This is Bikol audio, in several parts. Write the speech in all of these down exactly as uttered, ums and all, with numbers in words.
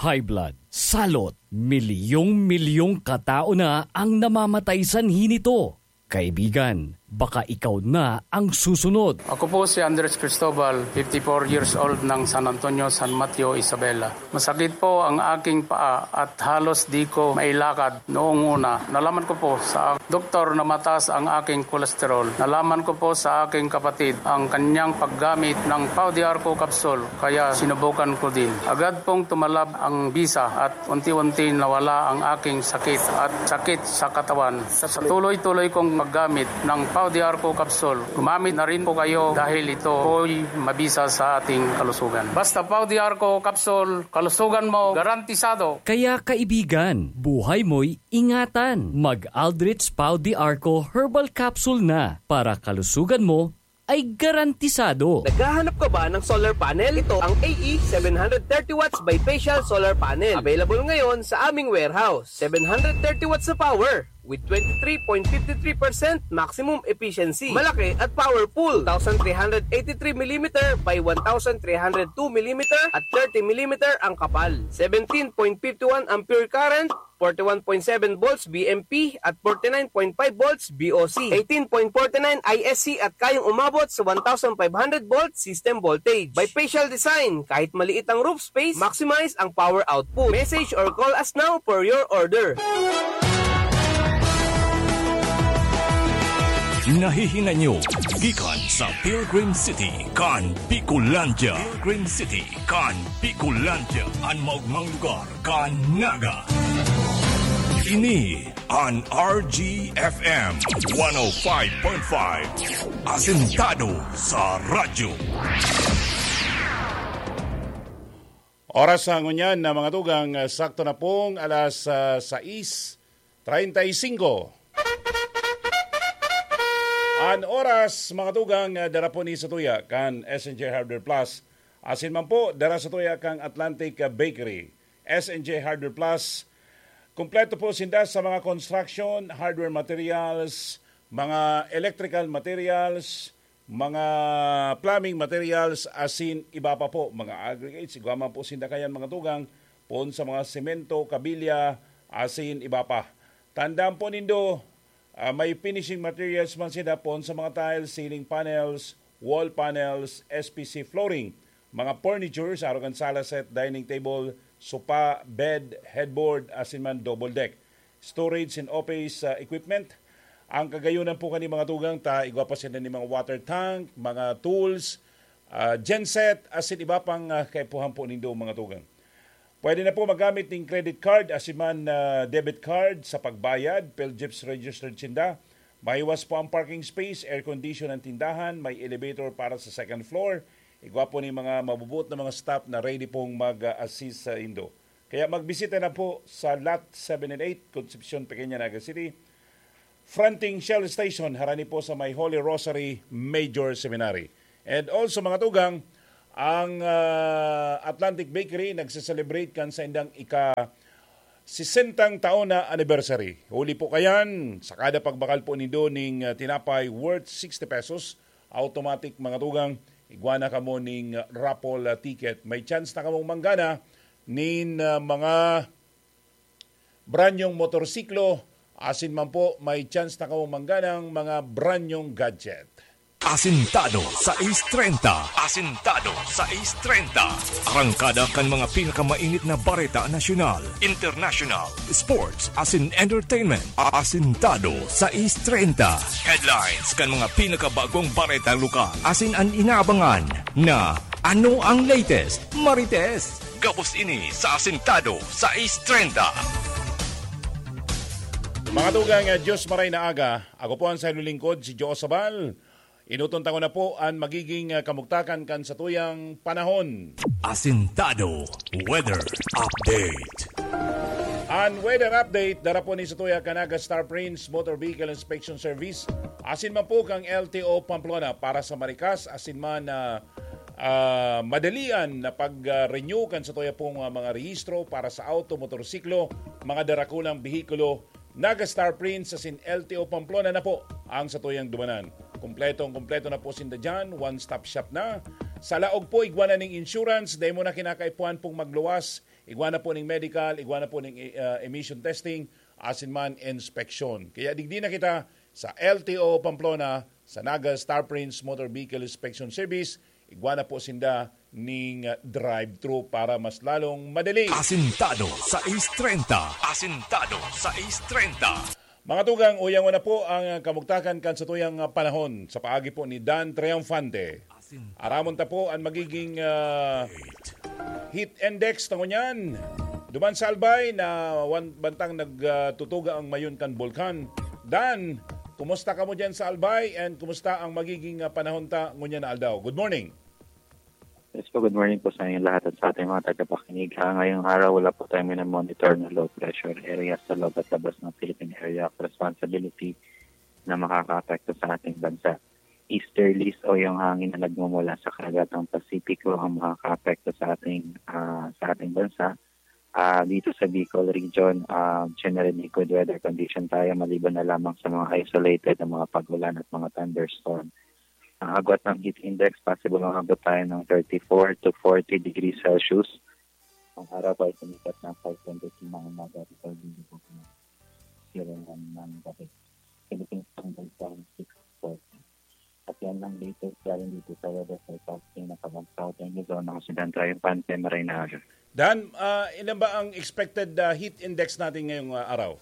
high blood, salot. Milyong-milyong katao na ang namamatay sanhi nito. Kaibigan, baka ikaw na ang susunod. Ako po si Andres Cristobal, fifty-four years old, ng San Antonio, San Mateo, Isabela. Masakit po ang aking paa at halos di ko mailakad noong una. Nalaman ko po sa doktor na mataas ang aking kolesterol. Nalaman ko po sa aking kapatid ang kanyang paggamit ng Pau de Arco capsule, kaya sinubukan ko din. Agad pong tumalab ang bisa at unti-unti nawala ang aking sakit at sakit sa katawan. Sa tuloy-tuloy kong paggamit ng Pau de Arco capsule, gumamit na rin po kayo dahil ito po'y mabisa sa ating kalusugan. Basta Pau de Arco capsule, kalusugan mo garantisado. Kaya kaibigan, buhay mo'y ingatan. Mag-Aldrich Pau de Arco Herbal Capsule na para kalusugan mo ay garantisado. Naghahanap ka ba ng solar panel? Ito ang A E seven hundred thirty watts bifacial solar panel. Available ngayon sa aming warehouse. Seven hundred thirty watts na power with twenty-three point five three percent maximum efficiency. Malaki at powerful. Two thousand three hundred eighty-three millimeter by one thousand three hundred two millimeter at thirty millimeter ang kapal. Seventeen point five one ampere current, forty-one point seven volts B M P at forty-nine point five volts B O C, eighteen point forty-nine I S C at kayang umabot sa one thousand five hundred volt system voltage. Bifacial design, kahit maliit ang roof space, maximize ang power output. Message or call us now for your order. Nahihinanyo gikan sa Pilgrim City kan Bicolandia. Pilgrim City kan Bicolandia, an maogmang lugar kan Naga. Ini an R G F M one oh five point five, asentado sa radyo. Oras sa ngunyan na mga tugang, ah, sakto na pong alas, ah, sais treinta y cinco. An oras, mga tugang, ah, dara po ni sa tuya kan S N J Hardware Plus. Asin man po, dara sa tuya kan Atlantic, ah, Bakery. S N J Hardware Plus, kompleto po sinda sa mga construction, hardware materials, mga electrical materials, mga plumbing materials, asin iba pa po, mga aggregates, igwa man po sinda kayan, mga tugang, poon sa mga semento, kabilya, asin iba pa. Tandaan po nindo, ah, may finishing materials man sinda poon sa mga tiles, ceiling panels, wall panels, S P C flooring, mga furniture sa arog kan sala set, dining table, sopa, bed, headboard, asin man double deck. Storage and office, ah, equipment. Ang kagayonan po kani, mga tugang, ta igwa pa sila ni mga water tank, mga tools, ah, genset, asin iba pang, ah, kaipuhan po nindo, mga tugang. Pwede na po magamit ning credit card, asin man, ah, debit card sa pagbayad, PhilGift registered sinda. Mahiwas po ang parking space, air condition ang tindahan, may elevator para sa second floor. Igwa po ni mga mabubuot na mga staff na ready pong mag-assist sa indo. Kaya magbisita na po sa Lot seven and eight, Concepcion, Pequeña, Naga City, fronting Shell Station, harani po sa may Holy Rosary Major Seminary. And also, mga tugang, ang, ah, Atlantic Bakery nagse-celebrate kan saindang ika-sesentang taon na anniversary. Huli po kayan, sa kada pagbakal po nindo ning, ah, tinapay worth sixty pesos, automatic, mga tugang, igwa na kamo ning, ah, raffle, ah, ticket. May chance na kamong manggana nin, ah, mga branyong motorsiklo, asin man po, may chance na kamong mangganang mga branyong gadget. Asintado sais treinta. Asintado sais treinta. Arangkada kan mga pinakamainit na bareta nasyonal, international, sports, asin entertainment. Asintado sais treinta. Headlines kan mga pinakabagong bareta lokal. Asin an inaabangan na ano ang latest, Marites. Gabos ini sa Asintado sais treinta. Mga tugang, ah, Diyos maray na aga. Ako po ang sayo lingkod, si Joe Sabal. Inuton tako na po an magiging, ah, kamugtakan kan satuyang panahon. Asintado Weather Update. An weather update, dara po ni satuya kan Naga Star Prince Motor Vehicle Inspection Service. Asin man po kang L T O Pamplona para sa marikas, asin man, ah, ah, madalian na pag-renew kan satuya pong, ah, mga rehistro para sa auto, motorsiklo, mga darakulang behikulo, Naga Star Prince asin L T O Pamplona na po ang satuyang dumanan. Kompletong kompleto na po sinda dyan, one-stop shop na. Sa laog po, igwa na ning insurance, dai mo na kinakaipuhan pong magluwas, igwa na po ning medical, igwa na po ning, ah, emission testing, asin man inspeksyon. Kaya digdi na kita sa L T O Pamplona, sa Naga Star Prince Motor Vehicle Inspection Service, igwa na po sinda ning, ah, drive-thru para mas lalong madali. Asintado sa East treinta. Asintado sa East treinta. Mga tugang, uyangon na po ang kamugtakan kan satuyang panahon sa paagi po ni Dan Triunfante. Aramon ta po ang magiging, ah, heat index ta ngunyan. Duman sa Albay na wan-, bantang nagtutuga ang mayon kan bulkan. Dan, kumusta kamo diyan sa Albay and kumusta ang magiging, ah, panahon ta ngunyan na aldaw? Good morning. Yes po, good morning po sa inyong lahat at sa ating mga tagapakinig. Ah, ngayong araw, wala po tayong minamonitor na low pressure area sa loob at labas ng Philippine Area of Responsibility na makakaapekto sa ating bansa. Easterlies o yung hangin na nagmumula sa karagatang Pasipiko ang makakaapekto sa ating, ah, sa ating bansa. Ah, dito sa Bicol region, ah, generally good weather condition tayo maliban na lamang sa mga isolated na mga pag-ulan at mga thunderstorm. Ang agwat ng heat index, possible umabot tayo ng thirty-four to forty degrees Celsius. Ang araw po ay sumikat ng five twenty-three ng umaga at twelve twenty-four ng zero ng gabi. Philippine Standard Time, six forty. At yan lang latest galing dito sa weather forecasting na pag-, Southern Luzon. Ako si Dan Triunfante, maray na aga. Dan, ah, ilan ba ang expected, ah, heat index natin ngayong, ah, araw?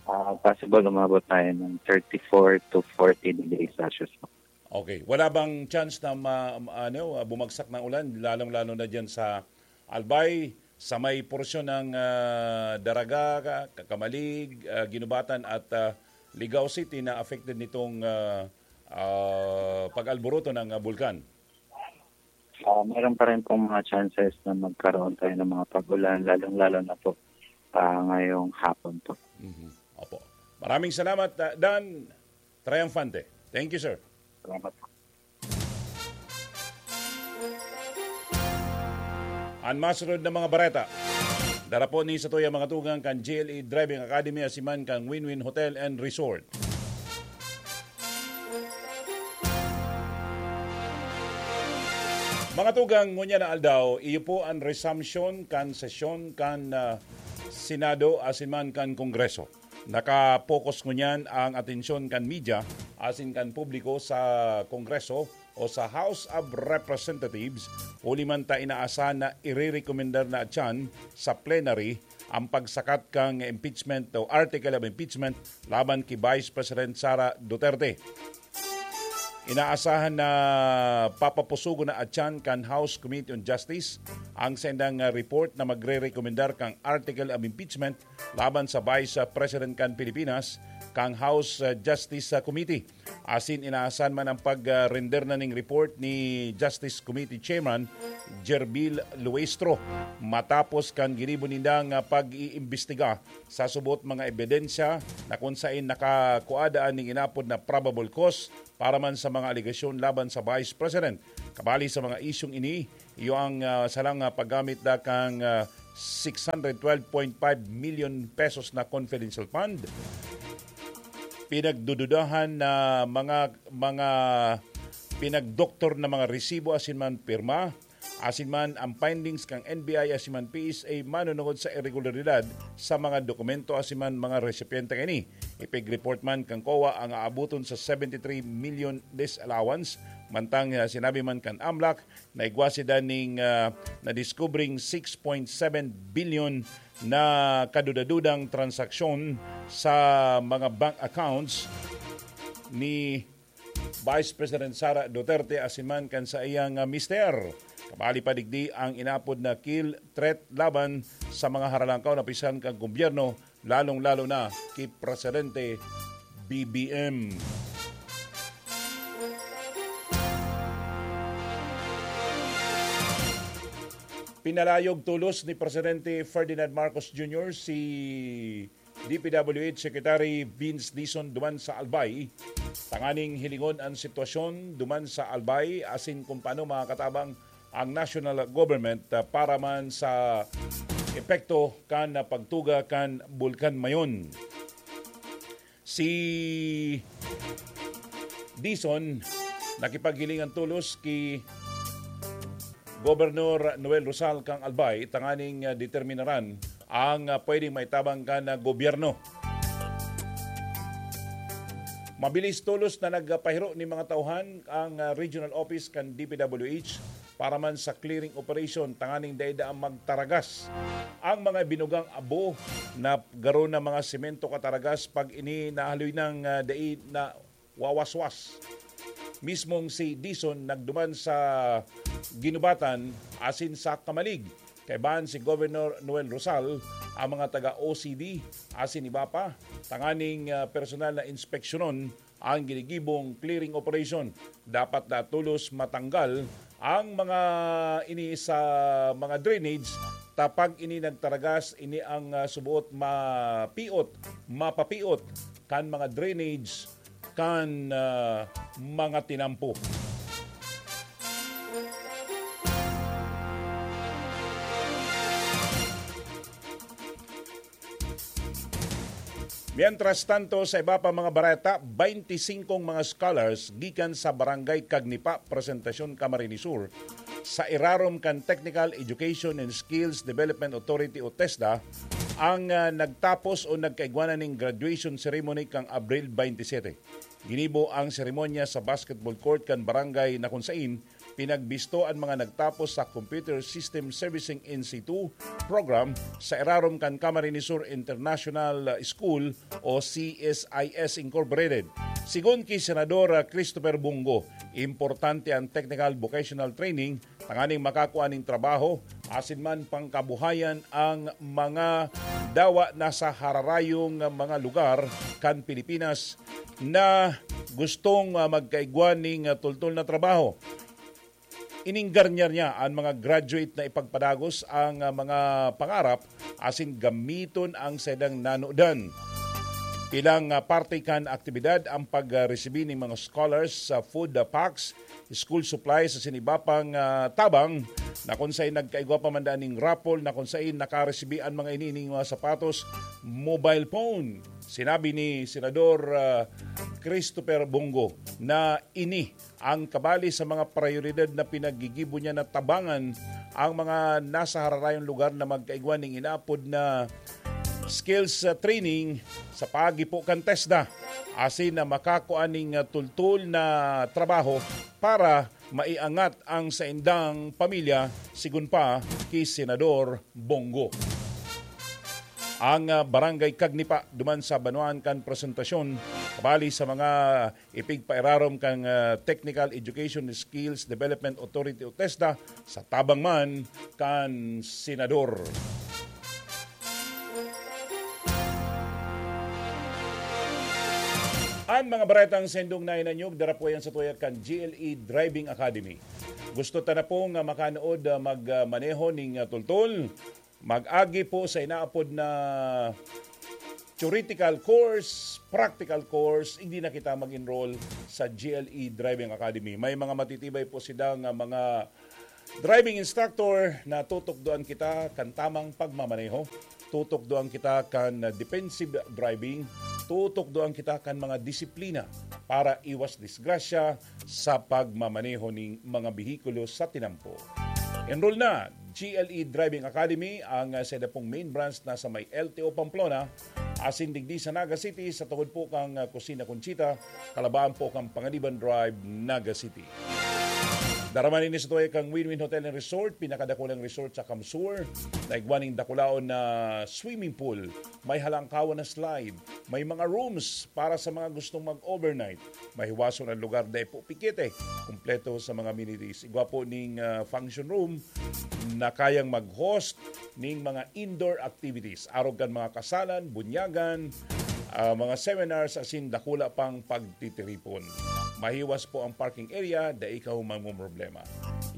Ah, possible umabot tayo ng thirty-four to forty degrees Celsius po. Okay. Wala bang chance na ma-, ma-, ano, ah, bumagsak ng ulan, lalong-lalo na diyan sa Albay, sa may porsyon ng, ah, Daraga, Ka-, Camalig, ah, Guinobatan at, ah, Ligao City na affected nitong, ah, ah, pag-alboroto ng, ah, bulkan? Ah, meron pa rin pong mga chances na magkaroon tayo ng mga pag-ulan, lalong-lalo na po, ah, ngayong hapon po. Mhm. Opo. Maraming salamat, ah, Dan Triunfante. Thank you, sir. Salamat po. An masunod na mga bareta. Dara po ni satuya mga tugang kan G L E Driving Academy asin man kan Win-Win Hotel and Resort. Mga tugang, ngunyan na aldaw, iyo po an resumption kan sesyon kan, ah, Senado asin man kan Kongreso. Naka-focus ngunyan ang atensyon kan media asin kan publiko sa Kongreso o sa House of Representatives, huli man ta inaasahan na irerekomendar na atyan sa plenary ang pagsakat kan impeachment o article of impeachment laban ki Vice President Sara Duterte. Inaasahan na papapusugon na atyan kan House Committee on Justice ang saindang, ah, report na magrerekomendar kan article of impeachment laban sa Vice President kan Pilipinas, kan House, ah, Justice, ah, Committee. Asin inaasahan man ang pag-render na ning report ni Justice Committee Chairman Gerbil Luestro matapos kan ginibo nindang, ah, pag-iimbestiga sa subot mga ebidensya na kun saen nakakuha daan ning inapod na probable cause para man sa mga alegasyon laban sa Vice President. Kabali sa mga isyung ini, iyo ang, ah, salang, ah, paggamit da kan, ah, six hundred twelve point five million pesos na confidential fund, pinagdududahan na mga, mga pinagdoktor na mga resibo asin man pirma, asin man ang findings kan N B I asin man P S A manunungod sa irregularidad sa mga dokumento asin man mga resipyente kaini. Ipig-report man kan COA ang aaboton sa seventy-three million disallowance, mantang, ah, sinabi man kan AMLAC na igwa sinda ning, ah, nadiskubring six point seven billion na kadudadudang transaksyon sa mga bank accounts ni Vice President Sara Duterte asin man kan saiyang, ah, mister. Kabali pa digdi ang inapod na kill threat laban sa mga haralangkaw na opisyal kan gobyerno, lalong-lalo na ki Presidente B B M. Pinalayog tolos ni Presidente Ferdinand Marcos Junior si D P W H Secretary Vince Dizon duman sa Albay, tanganing hilingon an sitwasyon duman sa Albay asin kung paano makakatabang ang national government, ah, para man sa epekto kan pagtuga kan Bulkan Mayon. Si Dizon nakipaghilingan tolos ki Gobernador Noel Rosal kan Albay tanganing, ah, determinaran ang, ah, pwedeng maitabang kan, ah, gobyerno. Mabilis tolos na nagpahiro nin mga tauhan ang, ah, regional office kan D P W H para man sa clearing operation tanganing dai daa magtaragas ang mga binugang abo na garo na mga semento kataragas pag ini nahaloy nang, ah, dai na wawaswas. Mismong si Dison nagduman sa ginubatan asin sa kamalig. Kaibahan si Governor Noel Rosal, ang mga taga O C D asin iba pa, tanganing, ah, personal na inspeksyonon ang ginigibong clearing operation. Dapat na tolos matanggal ang mga ini sa mga drainage, ta pag ini nagtaragas, ini ang, ah, suboot mapiot, mapapiot kan mga drainage kan, ah, mga tinampo. Mientras tanto, sa iba pa mga bareta, baynti singkong mga scholars gikan sa Barangay Cagnipa, Presentacion, Camarines Sur, sa irarom kan Technical Education and Skills Development Authority o TESDA, ang, ah, nagtapos o nagkaigwanan ning graduation ceremony kan Abril twenty-seven. Ginibo ang seremonya sa basketball court kan barangay na kun sain pinagbisto an mga nagtapos sa Computer System Servicing Institute program sa irarom kan Camarines Sur International School o C S I S Incorporated. Sigon ki Senador, ah, Christopher Bong Go, importante ang technical vocational training tanganing makakua nin trabaho asin man pangkabuhayan ang mga dawa na sa hararayong mga lugar kan Pilipinas na gustong, ah, magkaigwa ning, ah, tultol na trabaho. Ininggarnyar niya an mga graduate na ipagpadagos ang, ah, mga pangarap asin gamiton ang saindang nanodan. Bilang, ah, parte kan aktibidad ang pagresibi nin mga scholars sa food, ah, packs, school supplies asin iba pang, ah, tabang na kun sain nagkaigwa pa man daan ning raffle na kun sain nakaresibi an mga ini ning mga sapatos, mobile phone. Sinabi ni Senador, ah, Christopher Bong Go na ini ang kabali sa mga prayoridad na pinaggigibo niya na tabangan ang mga nasa hararayong lugar na magkaigwa ning inaapod na skills, ah, training sa paggipo kan TESDA asin na makakua ning, ah, tultol na trabaho para maiangat ang saindang pamilya, sigon pa ki Senador Bong Go. Ang, ah, Barangay Cagnipa duman sa banwaan kan presentasyon, kabali sa mga ipigpairarom kan, ah, Technical Education Skills Development Authority o TESDA sa tabang man kan Senador. An mga baretang sendong nainanyog, dara po yan sa tuya kan G L E Driving Academy. Gusto ta na pong, ah, makanood, ah, mag, ah, maneho ning, ah, tultol? Mag-agi po sa inaapod na theoretical course, practical course, hindi na kita mag-enroll sa G L E Driving Academy. May mga matitibay po sidang, ah, mga driving instructor na tutukdoan kita kan tamang pagmamaneho. Tutukdoan kita kan, ah, defensive driving. Tutukdoan kita kan mga disiplina para iwas disgrasya sa pagmamaneho ning mga behikulo sa tinampo. Enroll na, G L E Driving Academy, ang, ah, saida pong main branch na sa may L T O Pamplona, asin digdi sa Naga City, sa tungod po kan, ah, Kusina Conchita, kalabaan po kan Panganiban Drive, Naga City. Dara man ini sa tuya kan Win-Win Hotel and Resort, pinakadakulang resort sa CamSur, na igwa ning dakulaon na swimming pool, may halangkawan na slide, may mga rooms para sa mga gustong mag-overnight. Mahiwason an lugar, dai po pikit eh. Kompleto sa mga amenities. Igwa po ning, ah, function room na kayang mag-host ning mga indoor activities. Arog kan mga kasalan, bunyagan, ah, mga seminars, asin dakula pang pagtitiripon. Mahiwas po ang parking area, dai kaw mamomroblema.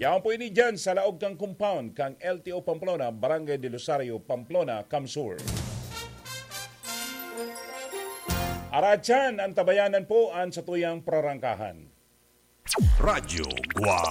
Yaon po ini dyan sa laog kan compound kan L T O Pamplona, Barangay del Rosario, Pamplona, CamSur. Aratyan, an tabayanan po an satuyang prarangkahan. Radyo Guwang.